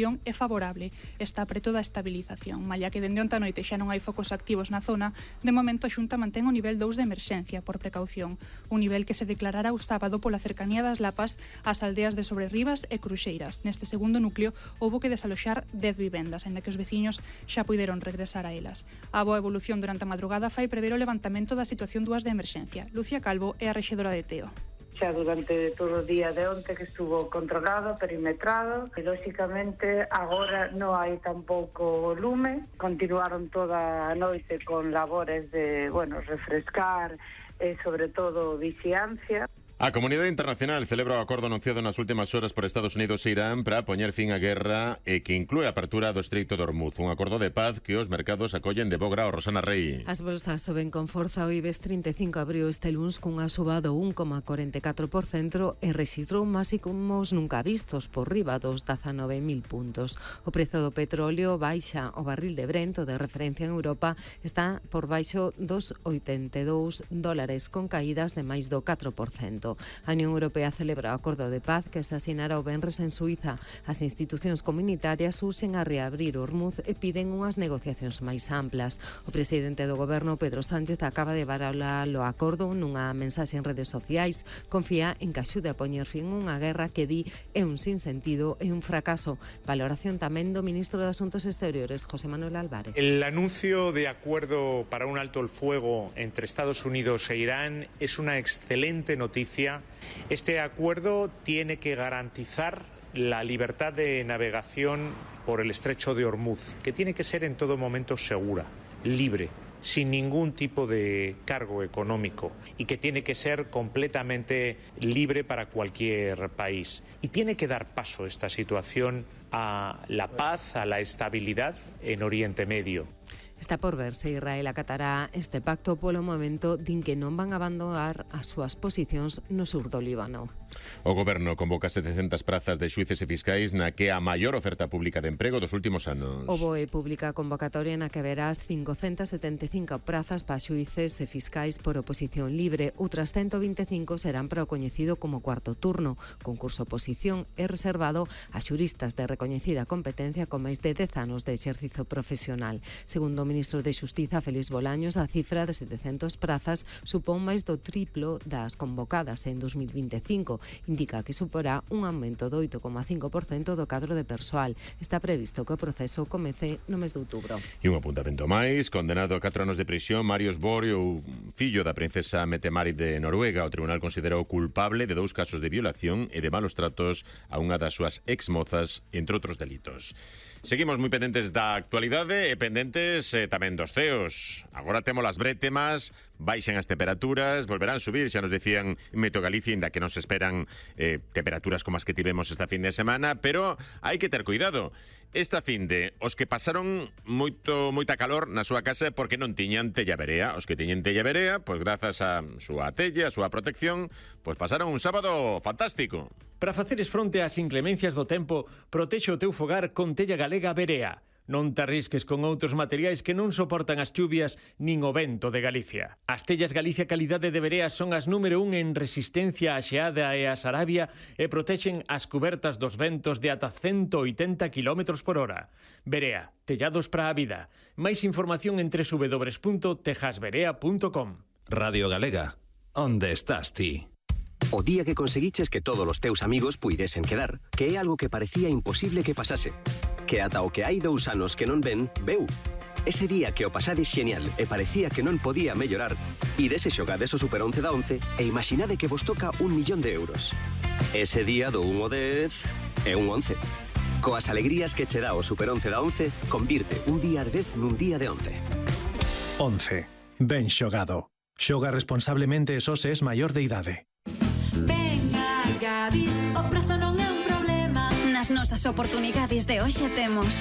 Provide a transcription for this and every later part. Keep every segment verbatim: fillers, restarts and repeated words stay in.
evolución é favorable, está preto da estabilización. Malla que dende onte a noite xa non hai focos activos na zona, de momento a Xunta mantén o nivel dous de emerxencia por precaución, un nivel que se declarará o sábado pola cercanía das Lapas ás aldeas de Sobrerribas e Cruxeiras. Neste segundo núcleo houbo que desaloxar dez vivendas, aínda que os veciños xa puideron regresar a elas. A boa evolución durante a madrugada fai prever o levantamento da situación dúas de emerxencia. Lucía Calvo é a rexedora de Teo. Xa durante todo o día de onte que estuvo controlado, perimetrado, e lóxicamente agora non hai tampouco lume. Continuaron toda a noite con labores de, bueno, refrescar e sobre todo vixiancia. A comunidade internacional celebra o acordo anunciado nas últimas horas por Estados Unidos e Irán para poñer fin á guerra e que inclúe a apertura do Estreito de Hormuz, un acordo de paz que os mercados acollen de bo grao. Rosana Rey. As bolsas soben con forza. O IBEX trinta e cinco abriu este luns cunha suba do un coma corenta e catro por cento e rexistrou máximos nunca vistos por riba dos dezanove mil puntos. O prezo do petróleo baixa. O barril de Brent, o de referencia en Europa, está por baixo dos oitenta e dous dólares, con caídas de máis do catro por cento. A Unión Europea celebra o acordo de paz que se asinara o venres en Suiza. As institucións comunitarias urxen a reabrir Hormuz e piden unhas negociacións máis amplas. O presidente do goberno, Pedro Sánchez, acaba de valorar o acordo nunha mensaxe en redes sociais. Confía en que axude a poñer fin unha guerra que di é un sinsentido e un fracaso. Valoración tamén do ministro de Asuntos Exteriores, José Manuel Álvarez. El anuncio de acuerdo para un alto el fuego entre Estados Unidos e Irán es una excelente noticia. Este acuerdo tiene que garantizar la libertad de navegación por el estrecho de Hormuz, que tiene que ser en todo momento segura, libre, sin ningún tipo de cargo económico y que tiene que ser completamente libre para cualquier país. Y tiene que dar paso esta situación a la paz, a la estabilidad en Oriente Medio. Está por ver se Israel acatará este pacto. Polo momento din que non van a abandonar as súas posicións no sur do Líbano. O goberno convoca setecentas prazas de xuíces e fiscais na que a maior oferta pública de emprego dos últimos anos. O B O E publica a convocatoria na que verás cincocentas setenta e cinco prazas para xuíces e fiscais por oposición libre. Outras ciento vinte e cinco serán para o coñecido como cuarto turno. Concurso oposición é reservado a xuristas de recoñecida competencia con máis de dez anos de exercicio profesional. Segundo o ministro de Xustiza, Félix Bolaños, a cifra de setecentas prazas supón máis do triplo das convocadas en dos mil vinte e cinco. Indica que suporá un aumento do oito coma cinco por cento do cadro de persoal. Está previsto que o proceso comece no mes de outubro. E un apuntamento máis, condenado a catro anos de prisión, Marius Borg, o fillo da princesa Mette-Marit de Noruega. O tribunal considerou culpable de dous casos de violación e de malos tratos a unha das súas exmozas, entre outros delitos. Seguimos moi pendentes da actualidade e pendentes eh, tamén dos ceos. Agora temos as brétemas, baixan as temperaturas, volverán a subir, xa nos decían en Meteo Galicia, inda que non se esperan eh, temperaturas como as que tivemos esta fin de semana, pero hai que ter cuidado. Esta fin de os que pasaron moito moita calor na súa casa porque non tiñan tella verea. Os que tiñen tella verea, pois grazas a súa tella, a súa protección, pois pasaron un sábado fantástico. Para faceres fronte ás inclemencias do tempo, protexe o teu fogar con tella galega Verea. Non te arrisques con outros materiais que non soportan as chuvias nin o vento de Galicia. As tellas Galicia Calidade de Verea son as número un en resistencia á xeada e á sarabia e protexen as cubertas dos ventos de ata ciento oitenta kilómetros por hora. Verea, tellados para a vida. Máis información en doble u doble u doble u punto tejas verea punto com. Radio Galega, onde estás ti? O día que conseguiches que todos os teus amigos puidesen quedar, que é algo que parecía imposible que pasase. Que ata o que hai dous anos que non ven, veu. Ese día que o pasades xenial e parecía que non podía mellorar, ides e xogades o Super once da once e imaginade que vos toca un millón de euros. Ese día do un ao dez é un once. Coas alegrías que che dá o Super once da once, convirte un día de dez nun día de once. once. Ben xogado. Xoga responsablemente e só se es maior de idade. Venga, Gadis, o prezo non é un problema. Nas nosas oportunidades de hoxe temos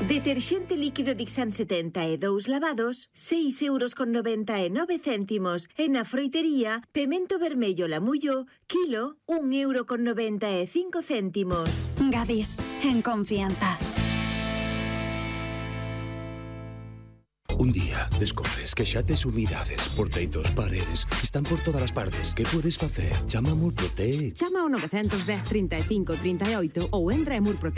deterxente líquido Dixan setenta e dous lavados, seis euros con noventa e nove céntimos. E na froitería, pemento vermello Lamullo, kilo, un euro con noventa e cinco céntimos. Gadis, en confianza. Un día descobres que xa tes humidades por teitos, paredes, están por todas as partes. Que podes facer? Chama a Murprotec. Chama ao nove dez, trinta e cinco, trinta e oito ou entra en murprotec.